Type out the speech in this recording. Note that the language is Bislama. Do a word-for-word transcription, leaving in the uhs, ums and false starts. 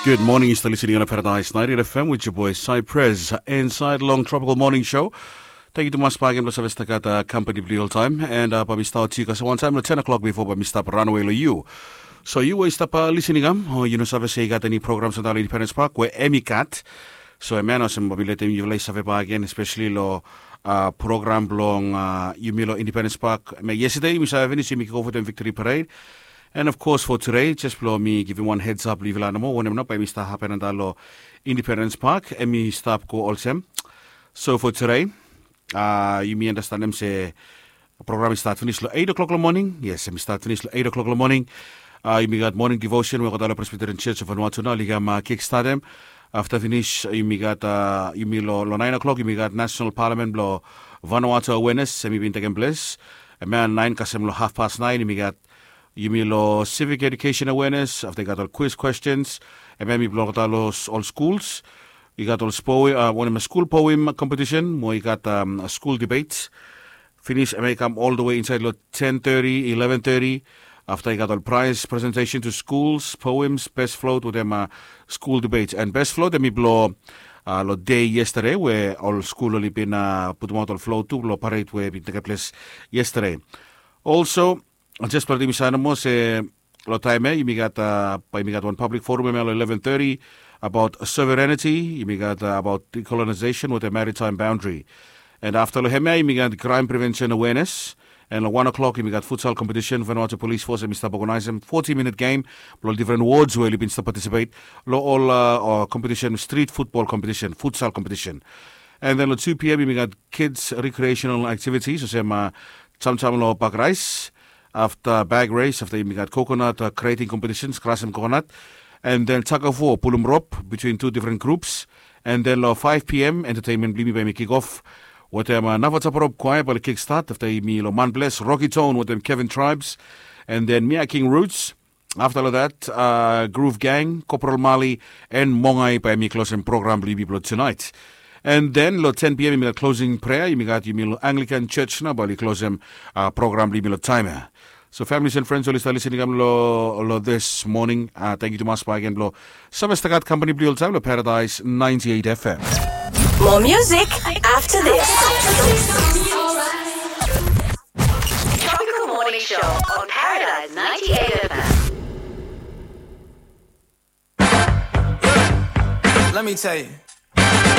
Good morning, yu stap listening on Paradise ninety-eight F M with your boy Cypress inside long Tropical Morning Show. Thank you tumas bakegen blong save stap gat uh, company blong yu oltaem. And uh, bae mi stap yu kasem wantaem long ten o'clock bifo bae mi stap ranawe long yu. So yu we yu stap uh, listening am, o yu no save se i gat eni program santa long Independence Park we em i gat. So em ya olsem bae mi letem yufala i save bakegen, especially long uh, program blong uh, yumi long Independence Park. Me yesterday yumi save finis yumi go for dem victory parade. And of course for today, just blong mi givim wan heads up long yufala nomo wanem nao bae mi stap hapen antap long Independence Park, em i stap go olsem. So for today, uh, yumi understandem se program i start finis long eight o'clock long morning. Yes, em i start finis long eight o'clock long morning. Uh, yumi gat morning devotion we olgeta long Presbyterian Church of Vanuatu nao oli kam uh, kick startem. Afta finis yumi gat uh, yumi long lo nine o'clock yumi gat National Parliament blong Vanuatu awareness em i bin tekem ples. Em ya nine kasem long half past nine yumi gat yumi long civic education awareness. Afta i gat ol quiz questions. Em ya mi blong olgeta long ol schools. I gat ol spo uh, wanem skul poem competition mo i gat um, skul debate. Finis em ya i kam all the way inside long ten thirty, eleven thirty. Afta i gat ol prize presentation to schools, poems, best float wetem uh, skul debate. And best float em i blong uh, long day yesterday we ol skul oli bin uh, putumaot ol float tu long parade we bin tekem ples yesterday. Also, just blong mi save nomo se long taem ya yumi gat uh, bae yumi gat wan public forum em ya long eleven thirty about sovereignty. Yumi gat uh, about decolonization with a maritime boundary. And afta long hem ya yumi gat crime prevention awareness. And long one o'clock yumi gat futsal competition. Vanuatu Police Force em i stap organizem forty minute game blong different wards we oli bin stap participate long ol uh, competition, street football competition, futsal competition. And then long two p.m. yumi gat kids recreational activities olsem uh, chamcham long bag race, afta bag race, afta yumi gat coconut uh, creating competitions, krasem coconut. And then tug of war, pulum rope between two different groups. And then long five p.m. entertainment blong yumi bae mi kick off wetem uh, Navacha Parop Choir bae oli kick start. Afta yumi long Manbles, Rocky Tone wetem Kevin Tribes. And then Mia King Roots. Afta long dat uh, Groove Gang, Corporal Mali, and Mongai bae mi klosem program blong yumi blong tonight. And then long ten p.m. yumi gat closing prayer, yumi gat yumi long Anglican Church nao bae oli klosem uh, program blong yumi long taem ya. So families and friends oli stap listening kam long this morning. Uh, thank you tumas bakegen blong save stap gat company blong yu oltaem long Paradise ninety-eight F M. More music after this. Tropical Morning Show on Paradise ninety-eight F M. Let me tell you.